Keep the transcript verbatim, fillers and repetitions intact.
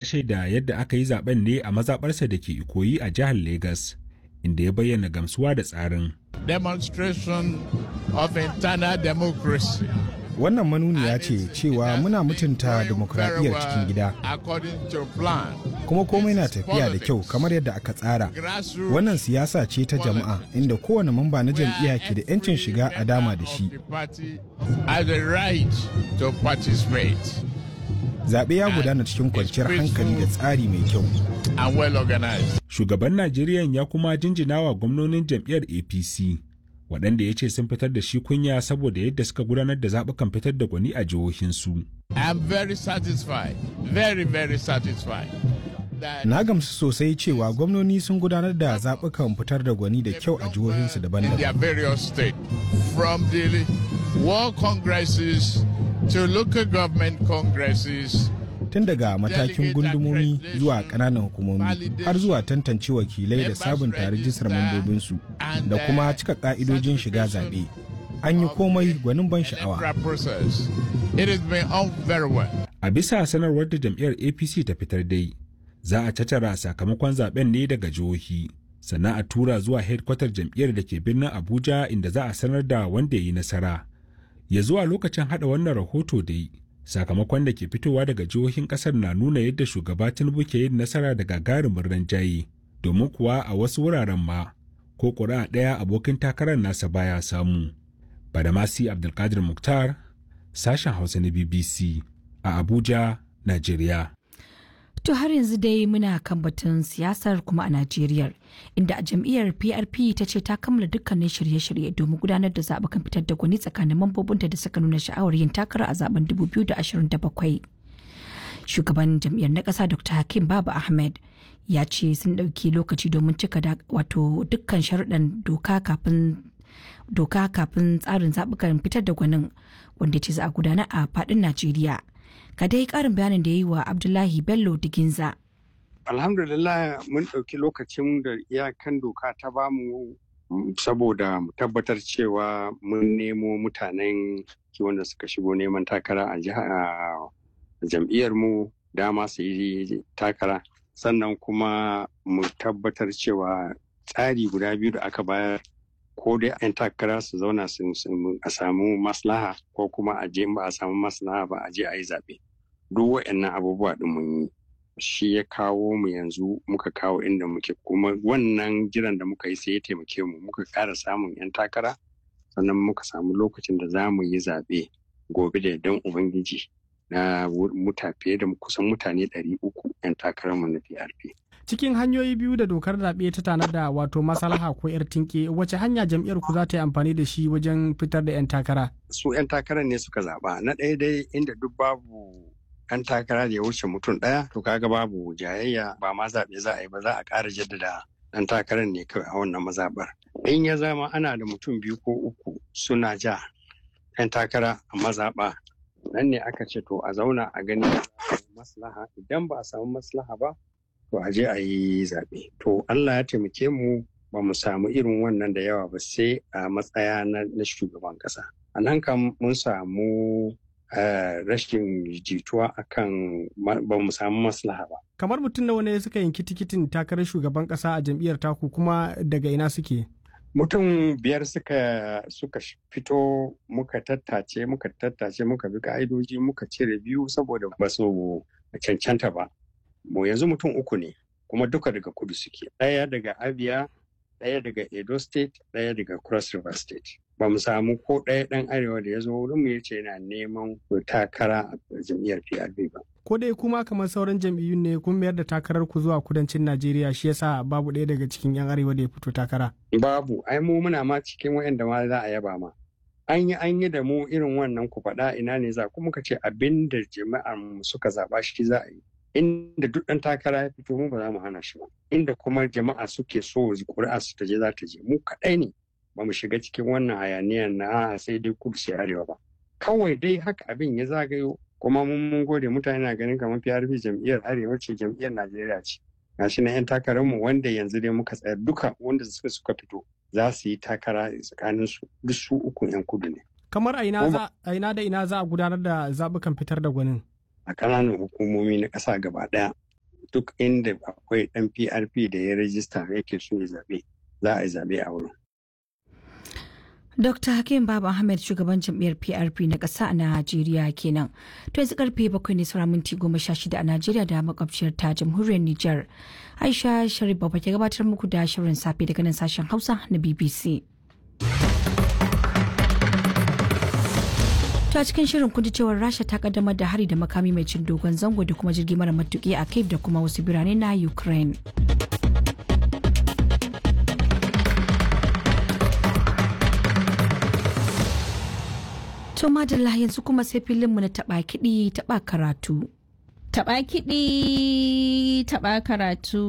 Shaida yadda aka yi zaben ne a mazaɓarsa da ke Ikoyi a jihar Legas, inda ya bayyana gamsuwa da tsarin. Demonstration of internal democracy. Wannan manuniya ce cewa muna mutunta dimokuraɗiyyar cikin gida. Kuma komai na tafiya da kyau kamar yadda aka tsara. Wannan siyasa ce ta jama'a inda kowane mamba na jam'iyya ke da 'yancin shiga a dama da shi. Zaɓe ya gudana cikin kwanciyar hankali da tsari mai kyau. Shugaban Najeriya ya kuma jinjina wa gwamnonin jam'iyyar A P C, waɗanda ya ce sun fitar da shi kunya saboda yadda suka gudanar da zaɓukan fitar da gwani a jihohinsu. I'm very satisfied, very, very satisfied. Na gamsu sosai cewa gwamnoni sun gudanar da zaɓukan fitar da gwani da kyau a jihohinsu daban-daban. From the world congresses to local government congresses. Tun daga matakin gundumomi zuwa ƙananan hukumomi har zuwa tantance wakilai da sabunta rijistar mambobinsu da kuma cika ƙa'idojin shiga zaɓe. An yi komai gwanin ban sha'awa. A bisa sanarwar da jam'iyyar A P C ta fitar dai, za a tattara sakamakon zaben ne daga jihohi, sannan a tura zuwa hedkwatar jam'iyyar da ke birnin Abuja, inda za a sanar da wanda ya yi nasara. Ya zuwa lokacin hada wannan rahoto dai, sakamakon da ke fitowa daga jihohin kasar na nuna yadda Shugaba Tinubu ke yin nasara da gagarumin rinjaye, domin kuwa a wasu wuraren ma ko ƙuri'a ɗaya abokin takarar nasa baya samu. Badamasi Abdulkadir Muktar, sashen Hausa na B B C a Abuja, Najeriya. To, har yanzu dai muna kan batun siyasar kuma a Najeriya, inda a jam'iyyar P R P ta ce ta kammala dukkanin shirye-shirye domin gudanar da zaɓukan fitar da gwani tsakanin mambobinta da suka nuna sha'awar yin takara a zaben dubu biyu da ashirin da bakwai. Shugaban jam'iyyar na ƙasa, Doctor Hakim Baba Ahmed, ya ce sun ɗauki lokaci domin cika wato dukkan sharuɗan doka kafin doka kafin tsarin zaɓukan fitar da gwanin wanda ce za a gudana a faɗin Najeriya. Ga dai karin bayanin da ya yi wa Abdullahi Bello Diginza. Alhamdulillah, mun ɗauki lokacin da iyakan doka ta bamu saboda mu tabbatar cewa mun nemo mutanen wanda suka shigo neman takara a jam'iyyar mu dama su yi takara, sannan kuma mu tabbatar cewa tsari guda biyu da aka bayar, ko dai 'yan takara su zauna a samu maslaha, ko kuma a je ba a samu maslaha ba a je a yi zaɓe. Duk waɗannan abubuwa ɗin mun yi shi ya kawo mu yanzu muka kawo inda muke. Kuma wannan jiran da muka yi sai ya taimake mu muka ƙara samun 'yan takara, sannan muka samu lokacin da za mu yi zaɓe gobe da yardan Ubangiji na muta fiye da kusan mutane ɗari uku 'yan takararmu na P R P. Cikin hanyoyi biyu da dokar zaɓe ta tanada, wato maslaha ko 'yar tinke, wace hanya jam'iyyar ku za ta yi amfani da shi wajen fitar da 'yan takara? Su 'yan takarar ne suka zaɓa. Na ɗaya dai, inda duk babu 'yan takara da ya wuce mutum ɗaya, to kaga babu jayayya, ba ma zaɓe za a yi ba, za a ƙara jaddada ɗan takarar ne kawai a wannan mazaɓar. In ya zama ana da mutum biyu ko uku suna ja 'yan takara a mazaɓa, nan ne aka ce to a zauna a gani maslaha. Idan ba a samu maslaha ba, to a je a yi zaɓe. To, Allah ya taimake mu ba mu samu irin wannan da yawa ba sai a matsaya na shugaban ƙasa. A nan kam mun samu rashin jituwa akan ba mu samu maslaha ba. Kamar mutum nawa ne suka yanki tikitin takarar shugaban ƙasa a jam'iyyar taku, kuma daga ina suke? Mutum biyar suka suka fito. Muka tattace, muka tattace, muka bi ka'idoji, muka cire biyu saboda ba su cancanta ba. Mu yanzu mutum uku ne, kuma duka daga kudu suke: ɗaya daga Abia, ɗaya daga Edo State, ɗaya daga Cross River State. Ba mu samu ko ɗaya ɗan arewa da ya zo wurin mu ya ce yana neman takara a jam'iyyar P R P ba. Ko dai kuma kamar sauran jam'iyyun ne kun mayar da takarar ku zuwa kudancin Najeriya, shi yasa babu ɗaya daga cikin 'yan arewa da ya fito takara? Babu. Ai mu muna ma cikin waɗanda ma za a yaba ma. An yi an yi da mu irin wannan, ku faɗa ina ne za ku, muka ce abin da jama'ar mu suka zaɓa shi za a yi. Inda duk ɗan takara ya fito, mu ba za mu hana shi ba. Inda kuma jama'a suke so ƙuri'a su ta je, za ta je. Mu kaɗai ne ba mu shiga cikin wannan hayaniyar na sai dai kudu sai arewa ba. Kawai dai haka abin ya zagayo, kuma mun mun gode. Mutane na ganin kamar P R P jam'iyyar arewa ce, jam'iyyar Najeriya ce. Gashi na 'yan takararmu wanda yanzu dai muka tsayar, duka wanda suka suka fito za su yi takara tsakanin su, duk su uku 'yan kudu ne. Kamar a ina da ina za a gudanar da zaɓukan fitar da gwanin? A ƙananan hukumomi na ƙasa gaba ɗaya. Duk inda akwai ɗan P R P da ya rajista yake so ya zaɓe, za a yi zaɓe a wurin. Dokta Hakim Baba Ahmed, shugaban jam'iyyar P R P na ƙasa a Najeriya kenan. To yanzu karfe bakwai ne saura minti goma sha shida a Najeriya da makwabciyar ta Jamhuriyar Nijar. Aisha Sharif Baba ke gabatar muku da shirin safe daga nan sashen Hausa na B B C. Ta cikin shirin kun ji cewar Rasha ta kaddamar da hari da makami mai cin dogon zango da kuma jirgi mara matuki a Kyiv da kuma wasu birane na Ukraine. To madalla, yanzu kuma sai filinmu na taɓa kiɗi taɓa karatu. Taɓa kiɗi taɓa karatu.